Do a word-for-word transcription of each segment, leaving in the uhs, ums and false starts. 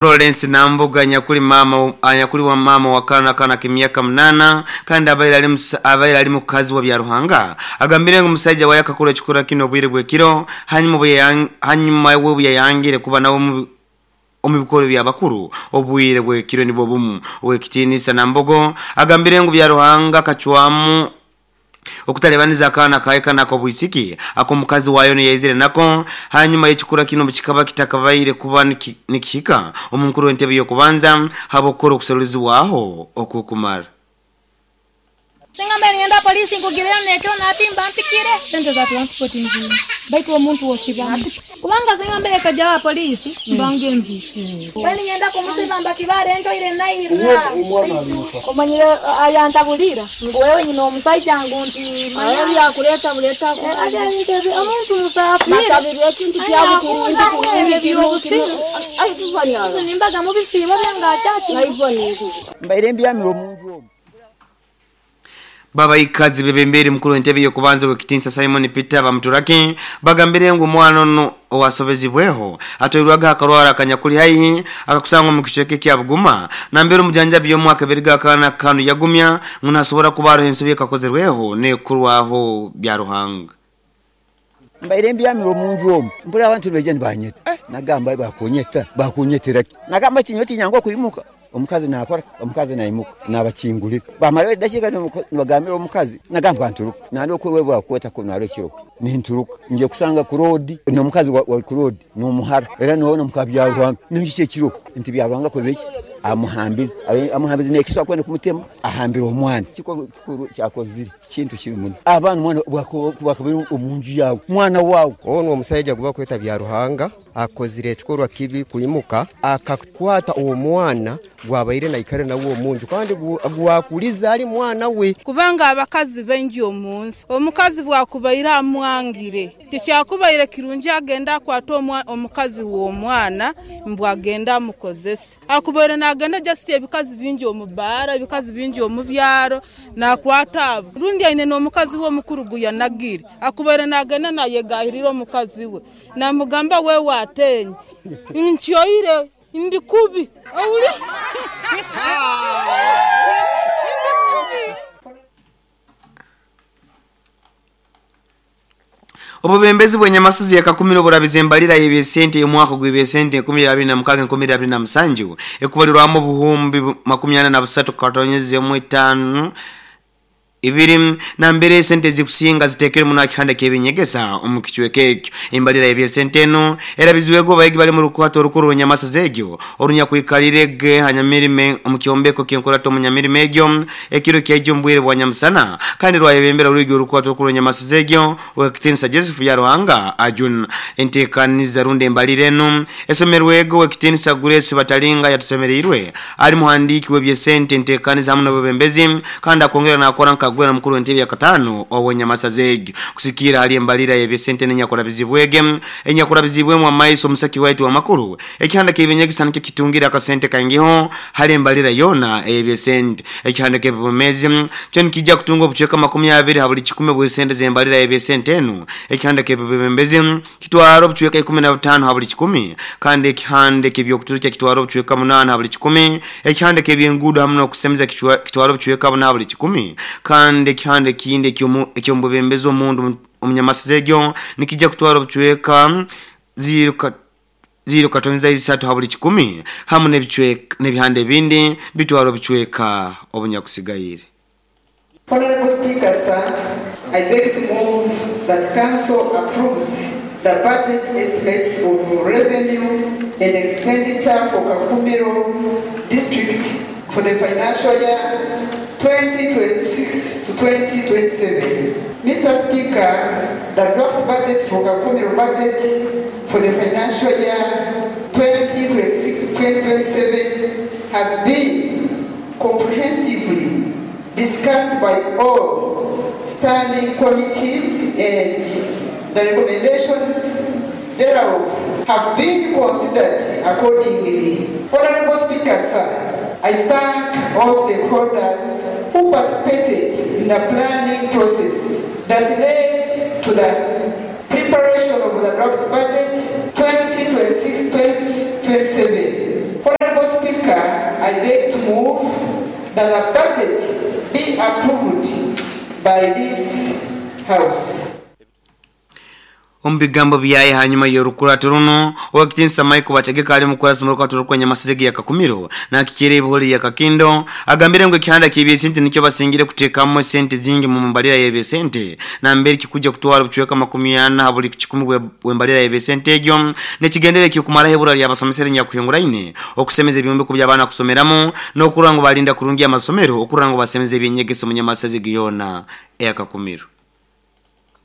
Lawrence Nambuga anyakuli mama anyakuli wa mama wa kana kana k'emyaka munana kandi abaire ali musa- abaire ali mukazi wa Byaruhanga agambire ngu omusajja waye akakora ekikora kino obwire bw'ekiro hanyuma bwe hanyuma we bwe kuba nawe omu omu bikoro by'abakuru obwire bw'ekiro nibwo bumu. Owekitiinisa Nambogo agambire ngu Byaruhanga akacwamu okutalebaniza akaana kaye kana ak'obwisiki ak'omukazi wayo niyaizire nako hanyuma y'ekikura kino kikaba kitakabaire kuba niki- nikihika omukuru w'entebe y'okubanza habwokukora okusolezibwaho okukumara. Singa ngenda polisi nkugirira nekyo natimba mpikire sente za transport nzima, baitu omuntu wosibamu kubanga singa mbere kajawa polisi mbange nzi bali ngenda kumusiba mbakibare enjoire naira omanyire ayantabulira ngu wewe nyina omusajja ngu nti manya byakuleta buleta omuntu musafiri bakabiri ekintu kyabukurungi nimbaga mubisiibo byangakyaki Mbaire mbyamire omunju omwo. Baba ikazi bebemberi mukuru w'entebe y'okubanza w'ekitinsa Simon Peter Bamuturaki bagambire ngu omwana ono owasobezibweho atwairwaga akarwara akanyakuli haihi akakusangwa mu kicweka ekya Buguma nambere omujanjabi y'omwaka ebiri g'akaana kanu yagumya ngu nasobora kuba aroho ensobi ekakozerweho nekurwaho Byaruhanga. Mbaire mbyamire omunju omwo, mpura abantu nibaija nibanyeta. Nagamba bakunyeta, bakunyetera ki? Nagamba kinyo tinyangu okwimuka. Omukazi nakora, omukazi naimuka, nabakingulira. Bamara edakiika nibagambira omukazi, nagamba nturuka. Nandi okwewe bwakweta ko naro ekiro. Ninturuka, nje kusanga ku road, n'omukazi wa, wa ku road, n'omuhara. Era noona omuka Byaruhanga, ninki ekiro? Nti Byaruhanga akoze ki? Amuhambize. Amuhambize n'ekiswa kwenda kumutema, ahambira omwana. Kiko kikuru kyakozire, kintu kiri muno. Abaana omwana bwakabiri omunju yawe, mwana wawe. Ono omusajja guba kweta Byaruhanga akozire ekikorwa kibi kwimuka akakwata omwana gwabaire naikare nawe omunju kandi gwakuliza ali mwana we. Kubanga abakazi bengi omunsi, omukazi bwakubaire amwangire tikyakubaire kirungi agenda akwata omukazi w'omwana mbwagenda amukozese akubaire nagenda just ebikazi bingi omu baara, ebikazi bingi omu byaro nakwata abo rundi aine n'omukazi we omukuru guyanagire akubaire nagenda nayegahirira omukazi we namugamba we watenye nkyoire ndi kubi owuli. Obubembezi bw'enyamasuzi yakakumira oburabize embalira y'ebyesente y'omwaka gw'ebyesente enkumi abiri na mukaaga enkumi abiri na musanju ekubalirwamu obuhumbi makumi ana na busatu katonyeze emu etaano ibiri nambere esente zikusinga zitekere muno akihanda k'ebinyegesa omu kicweka ekyo. Embalira y'ebyesente eno erabizwego abayigi bali mu rukwato orukuru rw'enyamasa zegyo orunyakwikalirege hanyamirime omu kyombeko ky'enkurato omu nyamirime egyo ekiro kyaijo omu bwire bwa nyamusana kandi rwayebembera orwigi orukwato orukuru rw'enyamasa zegyo owekitiinisa Joseph Byaruhanga Ajun. Enteekaniza rundi embalira eno esomerwego owekitiinisa Grace Batalinga yatusemereirwe ali muhandiiki w'ebyesente enteekaniza hamu n'obwebembezi kandi akongera nakora nka gwera mukuru w'entebe ya katano owenyamasa zegyo kusikira hali embalira y'ebyesente n'enyakurabizibwege enyakurabizibwemu amaiso omusaki waitu wa makuru ekihanda k'ebinyegesa nikyo kitungira akasente kaingiho hali embalira yona ey'ebyesente. Ekihanda k'ebibomezi kyo nikijja kutunga obucweka makumi abiri ha buli kikumi bw'esente z'embalira y'ebyesente eno. Ekihanda k'ebibembezi kitwara obucweka ikumi na butaano ha buli kikumi kandi ekihanda k'ebyokuturukya kitwara obucweka munaana ha buli kikumi. Ekihanda k'ebyenguudo hamu n'okusemeza kitwara obucweka buna ha buli kikumi kandi ekihanda ekindi eky'omubembezi omundu omunyamasize egyo nikijja kutwara obucweka ziro katonza isatu ha buli kikumi hamu n'ebicweka n'ebihanda ebindi bitwara obucweka obunyakusigaire. Honorable Speaker, sir, I beg to move that Council approves the budget estimates of revenue and expenditure for Kakumiro District for the financial year twenty twenty-six to twenty twenty-seven. Mister Speaker, the draft budget for Kakumiro budget for the financial year twenty twenty-six to twenty twenty-seven has been comprehensively discussed by all standing committees and the recommendations thereof have been considered accordingly. Honorable Speaker, sir, I thank all stakeholders who participated in the planning process that led to the preparation of the draft budget twenty twenty-six twenty twenty-seven. that the budget be approved by this House. Omubigambo byaye hanyuma y'orukurato runo owakitinsa Michael Bategeka ali mukurasa mu rukato rw'enya masizegi ya Kakumiro na kikire ibiholi ya Kakindo agambire ngo ekihanda ky'ebyesente nikyo basingire kuteekamu sente zingi mu mbalira y'ebyesente na mbere kikuja kutwara obucweka makumi ana buli kikumi bw'embalira y'ebyesente egyo nekigendere ky'okumaraho ebura ly'abasomesere nyakuhinguraine okusemeza ebyombeko by'abaana kusomeramu n'okurora ngu balinda kurungi amasomero okurora ngu basemeza ebyenyegeso mu nyamasazegi yona eya Kakumiro.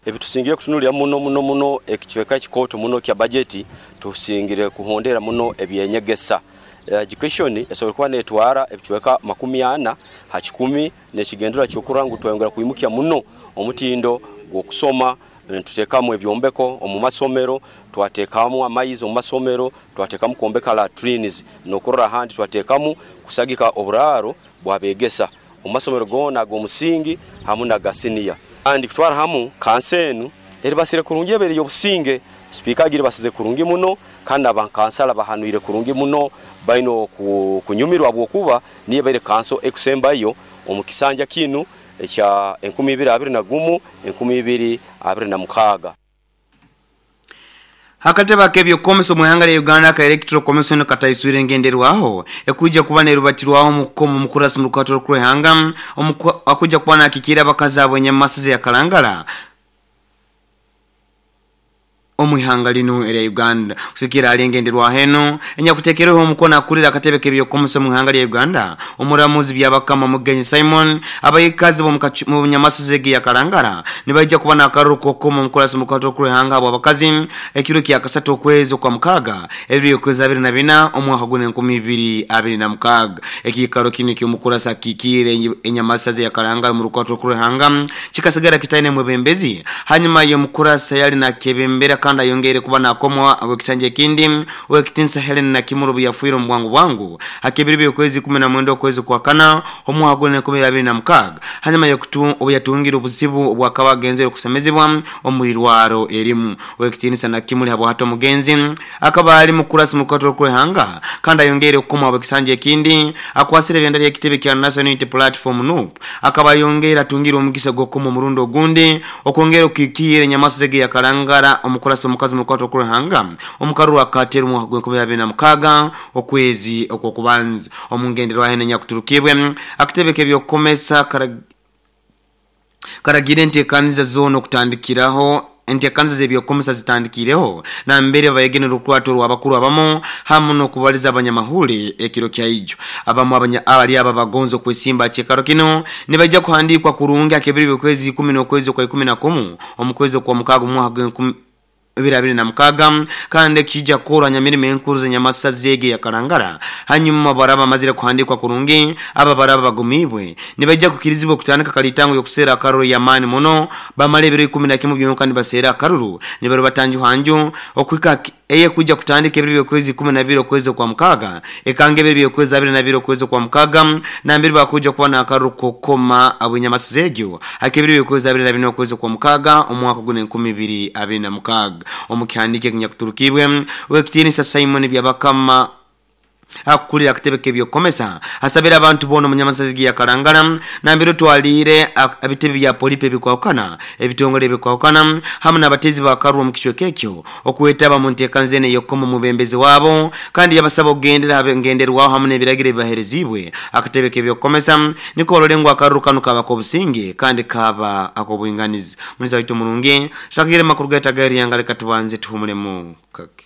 Ebitusingire kutunulira muno muno muno ekichweka kikoto muno kya bajeti tusingire kuhondera muno ebyenyegesa. Education esobola kuba netwara ebichweka makumi ana ha kikumi nekigendera kyokurangu twayongera kuimukia muno omutindo gw'okusoma. Tutekamu ebyombeko omu masomero, twatekamu amaizi omu masomero, twatekamu kuombeka latrines nokurora handi twatekamu kusagika oburaro bwabegesa omu masomero gona ag'omusingi hamu na gasiniya. Andi kutwara hamu kansenu eribasire kurungi ebere yobusinge speaker agire basize kurungi muno kandi abankansala bahanuire kurungi muno baino kunyumirwa bwokuba niye baire kanso ekusembayo omukisanja kinu ekya enkumi ibiri abiri na gumu enkumi ibiri abiri na mukaga. Hakateba kebyo komiso muhanga ya Uganda ka Electoral Commission kataiswire ngenderwaho ekuja kuba nerubatirwaho mukomo mukurasi mu rukato rw'ehanga akuja kuba nakikira abakazi abo nyamasize ya Kalangala omuhanga lino era Uganda kusikira alengenderwa heno enyakutekereho omukono akulira akatebe kebyo komiso muhanga lya Uganda omuramuzi byabakama Mugenyi Simon abayikazi bo mu nyamasize ya Kalangala nibaija kuba nakaruko komo mukurasi mu rukato rw'ehanga abo abakazi ekiro kya kasatu okwezi kwa mukaga ebiri okwezi abiri na bina omwaka gune enkumi ibiri abiri na mukaga ekikaro kino ky'omukurasa kikire enyamasaze ya Kalangala mu rukato rw'ehanga kikasigara kitaine mwebembezi hanyuma y'omukurasa yali nakebembera kandi ayongere kuba nakomwa agokitanje kindi wekitinsa Helen na Kimuru yafuiro mbwangu bwangu akebiri byokwezi kumi na mwenda okwezi kwa kana omwaka gune enkumi abiri na mukaga hanyuma yokutu obuyatungira obuzibu obwakaba genzero kusemezebwa omwirwaro erimu wekitinsa na Kimuri habo hato mugenzi akaba ali mukurasi mukato kwehanga kandi ayongere okukomwa abokisanje kindi akwasire byandali ekitebe kya National Unity Platform N U P akaba yongera atungira omugisa gwokomo murundo gundi okwongera okikire nyamasege ya Kalangala omukurasi omukazi mukato kwehanga omukaru akatera omwaka gw'enkumi abiri na mukaga okwezi okwokubanza omungenderwa hene nyakuturukibwe akitebe kebyokomesa karagire enteekaniza zono okutandikiraho enteekaniza z'ebyokomesa zitandikireho na mbere bayegene rukwato rw'abakuru abamu hamu n'okubaliza abanyamahule ekiro kya ijo abamu abanya abali aba bagonzo kwesimba chekaro kino nibajja kuhandikwa kurungi akebiri byokwezi ikumi n'okwezi kwa ikumi na kumu omukwezi kwa mukaga omwaka gw'enkumi ibiri abiri na mukaga kandi kijja koranya mirimo enkuru z'enyamasazege ya Kalangala hanyuma baraba mazire kuhandikwa kurungi aba baraba bagumibwe nibajja kukirizibwa kutandika kalitango yokusera akaruru ya mani muno bamale ebiro ikumi na kimwe byonka nibasera akaruru nibaro batanju hanju okwika eye kuja kutandika ebiro byokwezi kumi na bibiri okwezi kwa mukaga ekange ebiro byokwezi abiri na bibiri okwezi kwa mukaga na mbiri bakuja kuba na akaruru kokoma abunyamasazegyo akebiro byokwezi abiri na bine okwezi kwa mukaga omwaka gune enkumi ibiri abiri na mukaga omukihandike kinyakuturukibwe wekitinisa Simon Byabakama akulira akatebe kebyokomesa asabira abantu bono munyamasazigi ya Kalangala nambiro twalire abitebe bya polipe bikwakana ebitongole bikwakana hamwe n'abatezi bakarwa mu kichweke ekyo okuwetaba mu ntekanzene yokomo mubembezi wabo kandi yabasaba ogendera abengenderwaho hamwe n'ebiragiro bibaherezibwe akatebe kebyokomesa niko ololengwa akarukano kaba kobusinge kandi kaba akobwinganizi muniza wito mulungi shakire makuru gatagari yangale katubanze tuhumulemu kake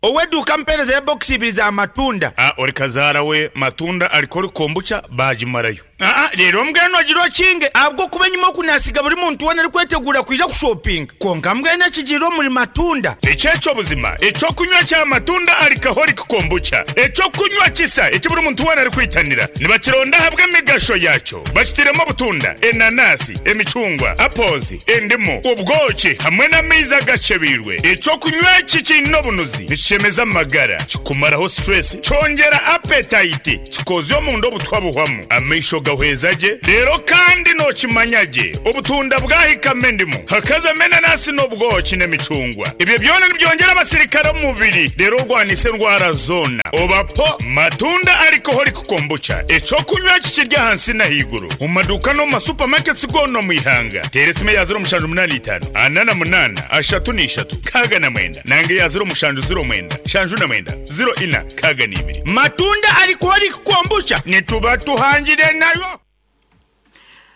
Oweduka mpereza ya box ibiri za matunda. Ah, ori kazara we matunda alikori kombucha bajimarayo. Ah ah, rero mbweno agiro kinge abwo kuba nyuma kunasiga buri muntu wana ari kwetegura kuja ku shopping. Konka mbwene kijiro muri matunda. Echecho buzima, echo kunywa cha matunda alcoholic kombucha. Echo kunywa kisa, echo buri muntu wana ari kwitanira. Nibakironda habwe migasho yacho. Bakitiremo butunda, enanasi, emicungwa, apples, endimu, ubwoki hamwe n'amaizi agacebirwe. Echo kunywa kikino bunuzi. Chemeza magara, kikumaraho stress, chongera appetite, kikozyo mu ndo butwa buhwamu. Amaisho Nigahweza gye rero kandi nokimanya gye obutunda bwahikamo endimu hakazamo enanasi n'obwoki n'emicungwa ebyo byona nibyongera abasirikare omu mubiri rero orwanisa endwara zoona obapo matunda alcoholic kombucha ekyokunywa kikirya ahansi n'ahaiguru omu maduuka n'omu masupamaketi goona omu ihanga teera esimu eya ziro mushanju munaana itaano ana na munaana ashatu n'ishatu kaaga na mwenda nange eya ziro mushanju ziro mwenda shanju na mwenda ziro ina kaaga n'ibiri matunda alcoholic kombucha nituba tuhangire nayo.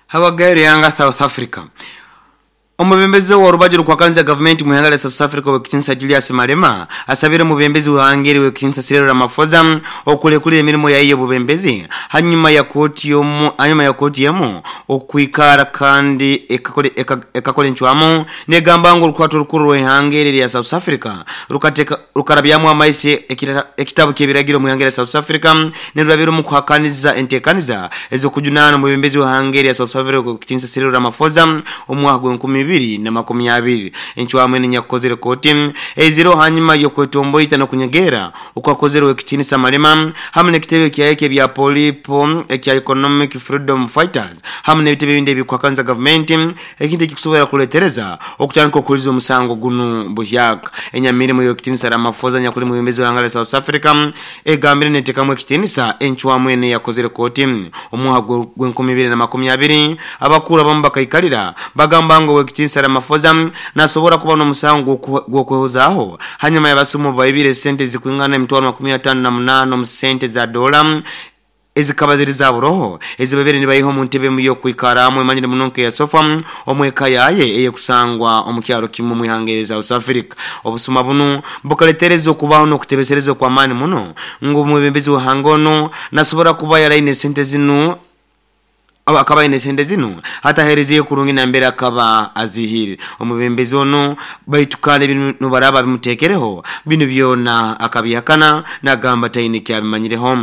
Habagairo yanga South Africa. Omubembezi wa rubaji rukwakanza gavumenti mu ihanga lya South Africa wekitinsa Julius Malema asabire omubembezi wahangeri wekitinsa Cyril Ramaphosa okulekulira emirimu yayo obubembezi hanyuma ya koti yomu hanyuma ya koti yemu okwikara kandi ekakole ekakole ncwamo negamba ngo urukwato rukuru rw'ihangeri lya South Africa rukateka rukarabyamu amaisi ekitabo ky'ebiragiro mu ihanga lya South Africa nerurabiro mu kuhakaniza entekaniza ezokujunana omubembezi wahangeri ya South Africa wekitinsa Cyril Ramaphosa omwaka gw'enkumi bibiri na makumi abiri enchwamwe nyakozere koti eziro hanyuma yokwetomboita no kunyegera okwakozere wekitinisa Malema hamwe n'ekitebe kyayeke bya Polipo ekya Economic Freedom Fighters hamwe n'ebitebe bindi ebikwakanza government ekindi kikusobola kuletereza okutandika okuliza omusango guno buhyaka enyamirimo yokitinisa Ramaphosa nyakuli mubembezi wa hanga South Africa egambire netekamu ekitinisa enchwamwe yakozere koti omwaka gw'enkumi bibiri na makumi abiri abakuru abamu bakaikalira bagamba ngo wekitinisa Ramaphosa nasobora kuba n'omusango gw'okwehozaho hanyuma yabasumu baibire sente zikwingana emitwaro makumi atano na munaana mu sente za dola ezikaba ziri za buroho ezibabere nibayiho mu ntebe mu yokwikaramu emanyire munonke ya sofa omweka yaye eye kusangwa omukyaro kimwe mu ihanga South Africa obusuma bunu bukaletereza okubaho n'okutebesereza kwa mani muno ngo umubembezi wa hangono nasobora kuba yaraine sente zinu akaba ine sente zinu hata hereziye kurungi na mbere akaba azihiri omubembezi ono baitukale bino baraba bimutekereho bino byona akabihakana nagamba taine kyabimanyireho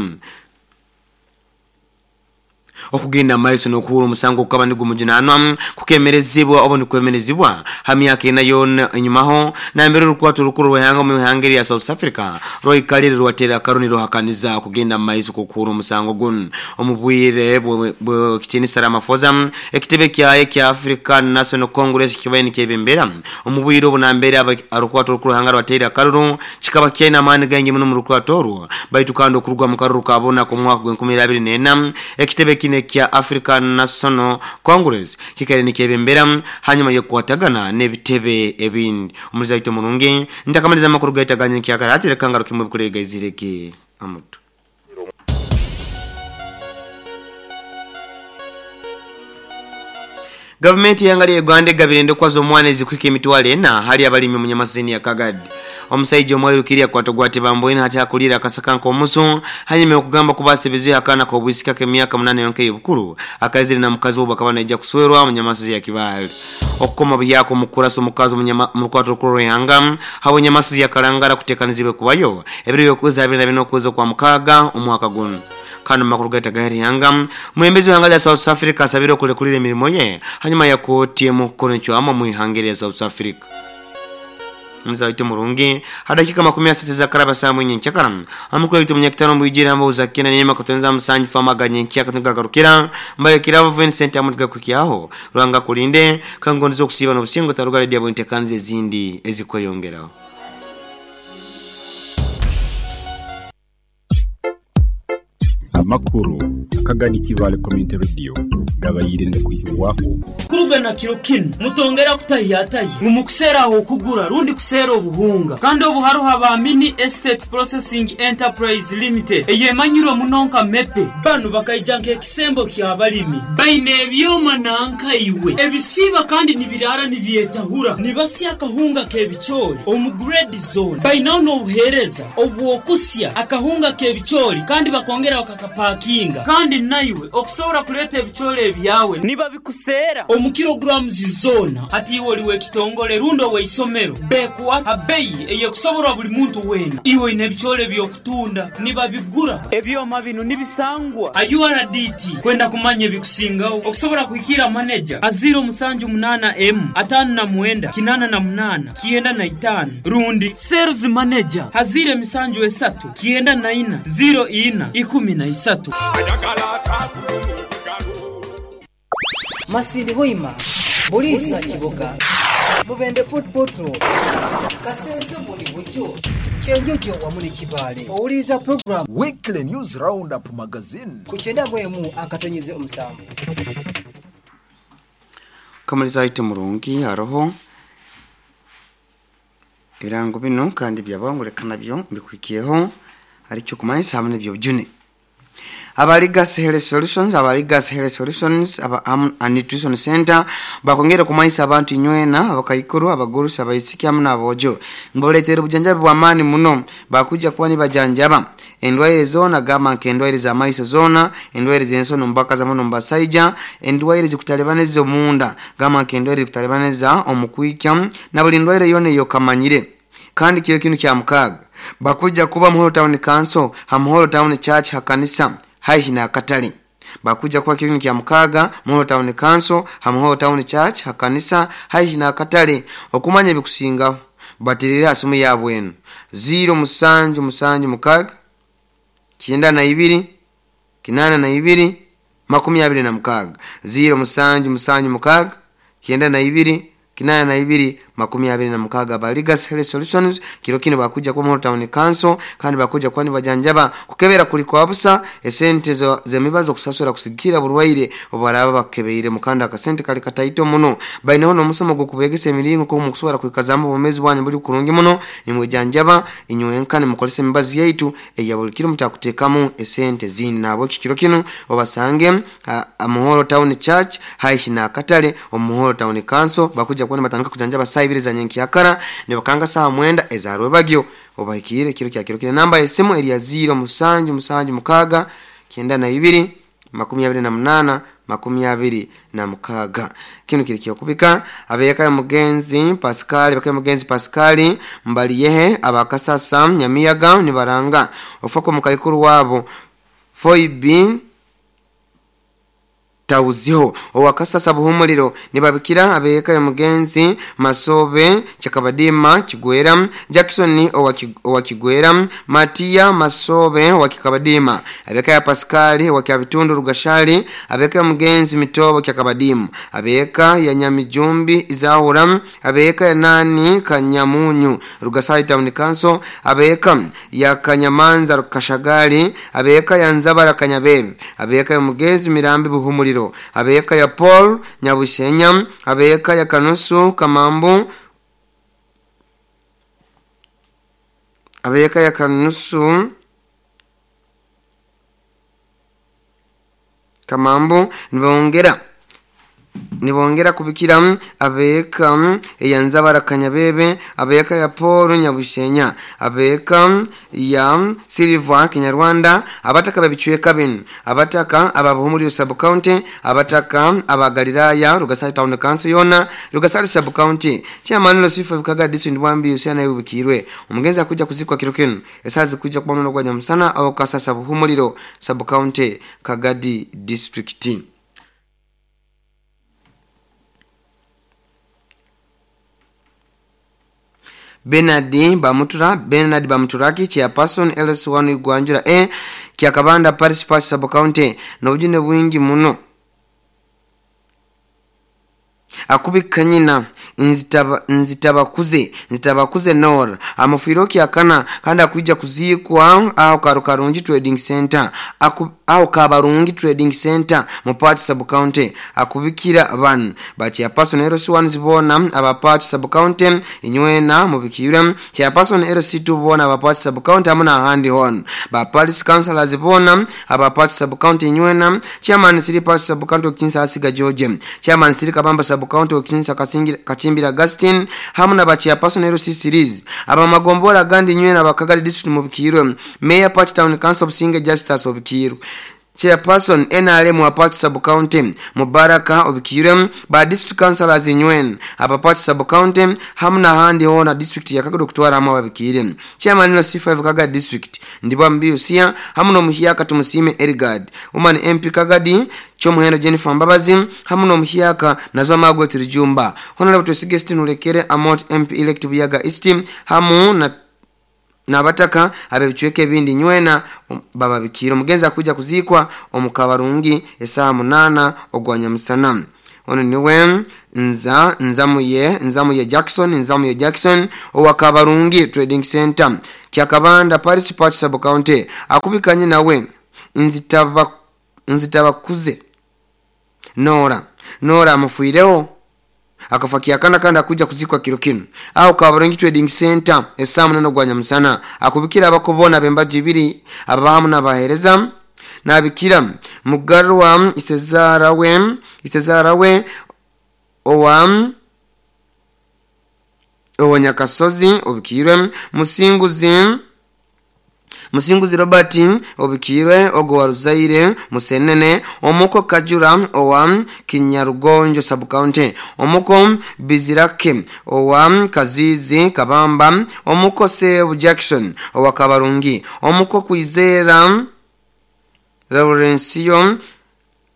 okugenda maiso n'okuhura omusango okukaba nigumujunanwa kukemerezibwa oba nikwemerezibwa ha myaka ena yona enyumaho nambere orukwato rukuru rw'ihanga mu ihanga lya South Africa rwaikalire rwatera akaroni ruhakaniza okugenda maiso kukuhura omusango guno omubwire bwekitinisa Ramaphosa ekitebe kyaye kya African National Congress kibaye nikyebembera omubwire obu nambere orukwato rukuru rw'ihanga rwatera akaruru kikaba kyaine amaani gaingi muno mu rukwato orwo baitu kandi okurugwa mu karuru kabona ku mwaka gw'enkumi abiri n'ena ekitebe kine kya African National Congress kikare nikyebembera hanyuma yokwatagana n'ebitebe ebindi omuzaito murungi ndakamaliza amakuru gaitaganye kyakara reka ngaruke mu bikurega izireke amutu. Government yangali Uganda egabirende kwazo omwana ezikwika emitwalo ena hali abalimi mu nyamasini ya Kagadi. Omusajja omwirukiriya kwatogwate bamboina hati akulira akasaka nk'omusu hanyuma okugamba kubasebezi akana kobwisika k'emyaka munane yonke y'obukuru akazire na mukazi bo bakaba naija kuswerwa mu nyamasizi ya Kibaale. Okukoma byako mukurasa omukazi mu rukwato rukuru rw'ihanga habo nyamasizi ya Kalangala kutekanizibwe kubayo ebiro by'okwezi abiri na bina okwezi kwa mukaaga omwaka guno. Kano makuru gaita gaheri yanga mwembezi wa hanga ya South Africa asabire okulekulira emirimo ye hanyuma ya koti emukono chwama mu ihanga lya South Africa. Mzaito murungi hadakika makumi asatu za karaba saa mwenye nchakara amukula vitu mnyakitano mbujira hamba uzakina nema kutenza msanji famaga nyenkia katuga karukira mbale kirabo Vincent amutga kukiaho ruanga kulinde kangonzo kusiba n'obusingo tarugale diabo ntekanze zindi ezikweyongeraho. Amakuru akagani Kibale Community Radio gabayire ndakwihirwaho kurugana kiro kino mutongera kutayataye mumukusera aho kugura rundi kusera obuhunga kandi obuharuha ba Mini Estate Processing Enterprise Limited eyemanyiro munonka mepe banu bakaija nk'ekisembo kyabalimi baine ebyoma nanka iwe ebisiba kandi nibirara nibyetahura nibasya akahunga k'ebichori omu grade zone bainaho n'obuhereza obwokusya akahunga k'ebichori kandi bakongera bakakapakinga kandi naiwe okusobola kuleta ebichori ebyawe niba bikusera omu kilograms zona hati iwe oliwe ekitongole rundo weisomero bekuwa abeyi eyekusoborwa buli muntu wena iwe ine ebichori byokutunda niba bigura ebyoma bino nibisangwa U R D T kwenda kumanya ebikusingaho okusobola kuhikira manager aziro musanju munana m atano na mwenda kinana na munana kienda na itano rundi sales manager hazire misanju esatu kienda na ina zero ina ikumi na isatu. Masindi Hoima, Bulisa Kiboga, Mubende Foot Potro, Kasese Buli Bujo, Kyenjojo wamu ne Kibaale. Owuliriza program Weekly News Roundup Magazine ku kyenda mu emu akatonyeze omusanvu. Kamaliza ite murungi haroho ebirango bino kandi byabanguleka nabyo mbikwikiyeho aricyo kumanyisa hamwe n'ibyo byune. Abaligas Health Solutions, Abaligas Health Solutions, aba am, and Nutrition Center bakongera kumanyisa abantu inywena abakaikuru abagurusi abaisiki hamwe n'abojo mboletera obujanjabi bw'amaani muno bakuja kuba nibajanjaba endwaire zona gamba nka endwaire z'amaiso zona, endwaire z'ensono mbaka za muno mbasaija, endwaire zikutalebaneza omunda gamba nka endwaire zikutalebaneza omukwikya na buli ndwaire yona eyokamanyire. Kandi kyo kinu kya mukaaga bakuja kuba Muhoro Town Council ha Muhoro Town Church ha kanisa haihi na katale. Bakuja kuba kinu kya mukaaga Muhoro Town Council ha Muhoro Town Church ha kanisa haihi na katale. Okumanya ebikusingaho batirira asimu yabwenu zero musanju musanju mukaaga kyenda na ibiri kinana na ibiri makumi abiri na mukaaga zero musanju musanju mukaaga kyenda na ibiri kinana na ibiri makumi abiri na mukaaga. Abaligas Health Solutions kiro kino bakuja kwa Muhoro Town Council kandi bakuja kwa nibajanjaba kukebera kuli kwa busa esente zo zemibazo kusasura kusigira burwaire obaraba bakebeire mukanda akasente kali kataito muno. Baineho n'omusomo gwo kubegesa emiringo ko mukusobora kwikazamba obumezi bwanyu buli kurungi muno nimwejanjaba inywenka nimukolesa emibazi yaitu eya buli kiro mutakutekamu esente zindi. Nabo kiro kino obasange Muhoro Town Church haihi na katale Omuhoro Town Council bakuja kwa nibatandika kujanjaba saa ibiri za nyenkyakara ne bakanga saa mwenda ezarwe bagyo obahikire kiro kya kiro kine. Namba esimu eri ya zero musanju musanju mukaaga kyenda na ibiri makumi abiri na munana makumi abiri na mukaaga. Kino kiri kyokubika abeka mugenzi Pascal baka mugenzi Pascal mbaliyehe abakasasa Nyamiyaga nibaranga ofako mukaikuru wabo Foibin tauziho owakasasa buhumuliro nibabikira abeka mugenzi Masobe Chakabadima Kigwera Jackson owakigwera Matia Masobe wakikabadima abeka ya Pascal wakiabitundu Rugashali abeka mugenzi Mitobo Kyakabadimu abeka ya Nyamijumbi Izahura abeka ya nani Kanyamunyu Rugasali Town Council abeka ya Kanyamanza Rukashagali abeka ya Nzabara Kanyabebe abeka ya mugenzi Mirambi Buhumuliro abeka ya Paul Nyabusenya abeka ya Kanusu Kamambu abeka ya Kanusu Kamambu nibongera nibongera kubikira abeka ya Nzabara Kanyabebe abeka ya Paul Nyabusenya abeka ya Silva Kinyarwanda abataka babichweka bino abataka ababuhumuri sub county abataka abagalilaya Rugasali Town Council yona Rugasali sub county chairman Losifa Kaga district Bwambi usiana yubikirwe omugenzi akuja kuzikwa kiro kino esazi kuja kubamno gwa nyamusana au kasasa buhumuliro sub county Kagadi district. Bernard Bamutura Bernard Bamuturaki chairperson L S one Igwanjura A Kyakabanda Parish Parish Sub County n'obujune bwingi muno akubikanyina nzitaba nzitabakuze nzitabakuze nor amufiro kyakana kandi akuja kuzikwa aho Karukarungi Trading Center aku aho Kabarungi Trading Center mu Parish Sub County akubikira ban ba chairperson L S one zibona aba Parish Sub County inywena mubikira chairperson L C two bona aba Parish Sub County amuna handi hon ba Parish Councilors zibona aba Parish Sub County inywena chairman Siri Parish Sub County Kinsa Asiga George chairman Siri Kabamba Sub County Kinsa Kasingira Kachimbira Augustine hamwe na ba chairperson L C series aba magombora gandi nywena bakagari district mubikirwe mayor Parish Town Council of Singa Justice obikirwe chairperson N R M wa Parish Sub County Mubaraka obikirwe ba district councilors nywen aba Parish Sub County hamwe na handi hona district ya Kagado kutwara hamwe ababikire chairman L C five Kaga district ndibwa mbiusia hamwe no muhiyaka tumusime Erigard woman M P Kagadi Chomuhendo Jennifer Mbabazi hamwe no muhiyaka nazo magwe turijumba honorable Twesige Steve Amot M P elect Buyaga East hamu na nabataka abebichweke ebindi nywena um, baba bikiro mugenza kuja kuzikwa omukabarungi esaa munana ogwanya musana. Ono niwe nza nzamuye nzamuye Jackson nzamuye Jackson owa Kabarungi Trading Center Kyakabanda Paris Park Sub County akubikanye nawe nzitaba nzitabakuze Nora Nora amufuireho akafakia kana kanda kuja kuzikwa kilo kino au Kabarungi Trading Center esamu nano gwanya musana akubikira abakobona bembaji ibiri abahamu n'abahereza nabikira mugarwa isezara we isezara we owa owa Nyakasozi obikirwe musinguzi Musinguzi Robert obikirwe ogo wa Ruzaire Musenene omuko Kajura owa Kinyarugonjo Sub County omuko Bizirake owa Kazizi Kabamba omuko Sebu Jackson owa Kabarungi omuko Kwizera Laurencio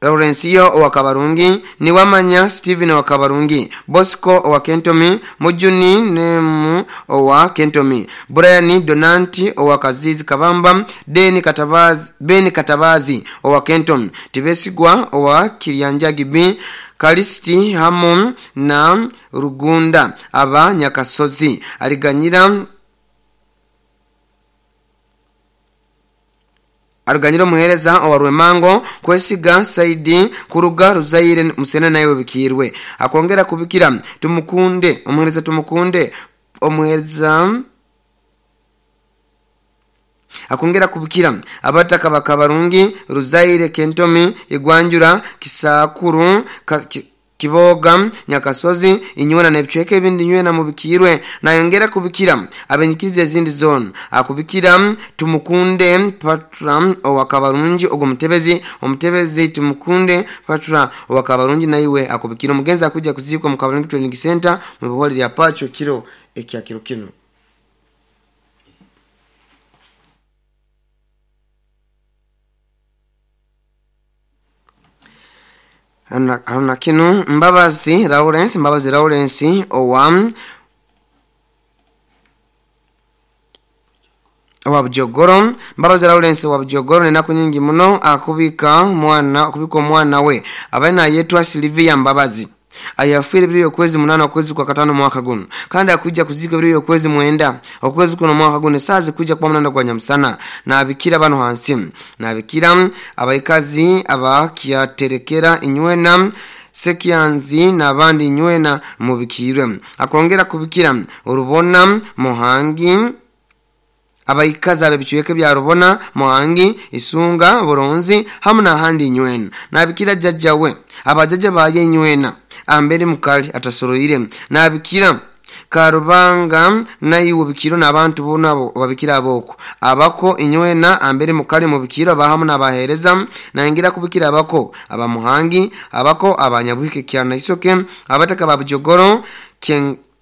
Laurencio owa Kabarungi Niwamanya Steven owa Kabarungi Bosco owa Kentomi Mujuni Nemu owa Kentomi Brian Donanti owa Kazizi Kabamba Deni Katabazi Beni Katabazi owa Kentomi Tibesigwa owa Kirianjagi B Kalisti Hamon na Rugunda aba Nyakasozi aliganyira Aruganyiro muhereza owa Rwemango kwesiga Saidi kuruga Ruzaire Musena nayo bikirwe akongera kubikira tumukunde omuhereza tumukunde omuhereza akongera kubikira abataka bakabarungi Ruzaire Kentomi Igwanjura Kisakuru ka, ki, Kiboga Nyakasozi inywena nebicweke ebindi nywena mubikirwe nayongera kubikira abenyikirize ezindi zone akubikira tumukunde Patra owa Kabarungi ogo mutebezi omutebezi tumukunde Patra owa Kabarungi naiwe akubikira omugenzi akuja kuzikwa mu Kabarungi Training Center mu biholi lya Pacho kiro ekya kiro kino. Aruna kinu Mbabazi Lawrence Mbabazi Lawrence owa owa Bujogoro Mbabazi Lawrence owa Bujogoro nenaku nyingi muno akubika mwana akubika omwana we abaina yetwa Sylvia Mbabazi ayafire biri okwezi munana okwezi kwa katano mwaka guno kandi akuja kuzika biri okwezi mwenda okwezi kuno mwaka guno sazi kuja kwa munana kwa nyamusana na abikira bano hansi na abikira abaikazi abakiaterekera inywena Sekianzi n'abandi inywena mubikirwe akongera kubikira urubona Muhangi abaikazi abebichweke bya Rubona Muhangi Isunga Buronzi hamwe n'ahandi inywena nabikira jajjawe abajaja baye inywena ambere mukali atasoroire nabikira Karubanga nayiwo bikiro n'abantu bona babikira aboko abako inywena ambere mukali mu bikiro abahamu n'abahereza nangira kubikira abako abamuhangi abako abanyabuhike kyana isoke abataka babujogoro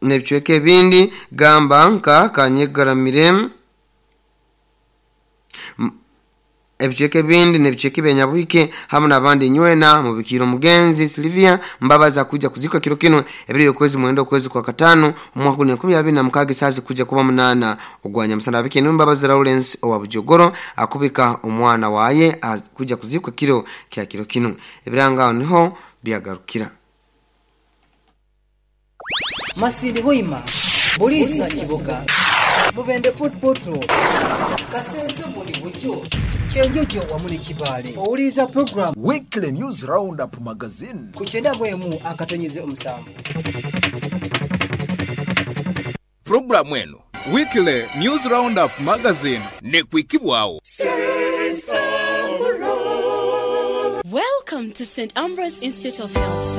nebicweke bindi gamba nka kanyegaramire ebicweke bindi nebicweke benyabuhike hamwe n'abandi nywena mu bikiro mugenzi Sylvia Mbabaza kuja kuzikwa kiro kino ebiri okwezi mwendo okwezi kwa katano omwaka guno enkumi abiri na mukaaga sazi kuja kuba munana ogwanya musana abike ni Mbabazi Lawrence owa Bujogoro akubika omwana waye kuja kuzikwa kiro kya kiro kino ebiranga niho byagarukira. Masidi Hoima Bulisa Kiboga Mubende Food Portal Kasese buli bujo Kyenjojo wamu ne Kibaale owuliriza program Weekly News Roundup Magazine ku kyenda mu emu akatonyeze omusanvu. Programu eno Weekly News Roundup Magazine ne kwikibwawo. Welcome to Saint Ambrose Institute of Health Sciences.